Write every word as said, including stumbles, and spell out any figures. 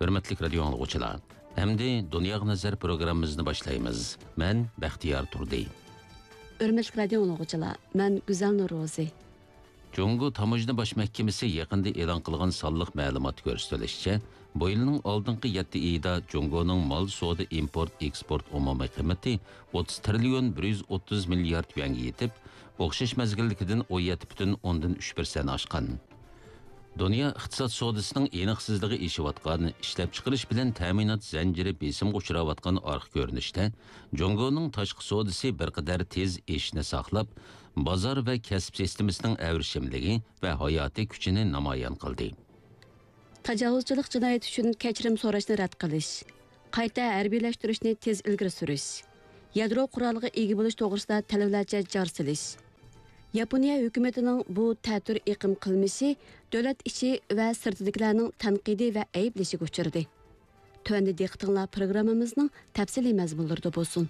ھۆرمەتلىك رادىيو ئاڭلىغۇچىلار، ئەمدى دۇنياغا نەزەر پروگراممىمىزنى باشلايمىز. مەن بەختىيار تۇردى. ھۆرمەتلىك رادىيو ئاڭلىغۇچىلار، مەن گۈزەل نورۇزى. جۇڭگو تاموژنا باش مەھكىمىسى يېقىندا ئېلان قىلغان سانلىق مەلۇماتتا كۆرسىتىلىشىچە، بۇ يىلنىڭ ئالدىنقى يەتتە ئېيىدا جۇڭگونىڭ مال سودا ئىمپورت ئېكسپورت ئومۇمىي قىممىتى ئوتتۇز تىرىليون بىر يۈز ئوتتۇز مىليارد يۈەنگە يېتىپ، ئوخشاش مەزگىلدىكىدىن ئون يەتتە پۈتۈن ئوندىن ئۈچ پىرسەنت ئاشقان. دۇنيا ئىقتىساد سودىسىنىڭ ئېنىقسىزلىقى ئېشىۋاتقان، ئىشلەپچىقىرىش بىلەن تەمىنات زەنجىرى بېسىمغا ئۇچراۋاتقان ئارقا كۆرۈنۈشتە، جۇڭگونىڭ تاشقى سودىسى بىر قەدەر تېز ئېشىشنى ساقلاپ، بازار ۋە كەسىپ سىستېمىسىنىڭ ئەۋرىشىملىكى ۋە ھاياتىي كۈچىنى نامايان قىلدى. تاجاۋۇزچىلىق جىنايىتى ئۈچۈن كەچۈرۈم سوراشنى رەت قىلىش، قايتا ھەربىيلەشتۈرۈشنى تېز ئىلگىرى سۈرۈش، يادرو قورالىغا ئىگە بولۇش توغرىسىدا تەلەپلەرچە جار سېلىش. ياپونىيە ھۆكۈمىتىنىڭ بۇ تەتۈر ئېقىم قىلمىشى دۆلەت ئىچى ۋە سىرتىدىكىلەرنىڭ تەنقىدى ۋە ئەيىبلىشىگە ئۇچرىدى. تۆۋەندە دىققىتىڭلار پروگراممىمىزنىڭ تەپسىلىي مەزمۇنلىرىدا بولسۇن.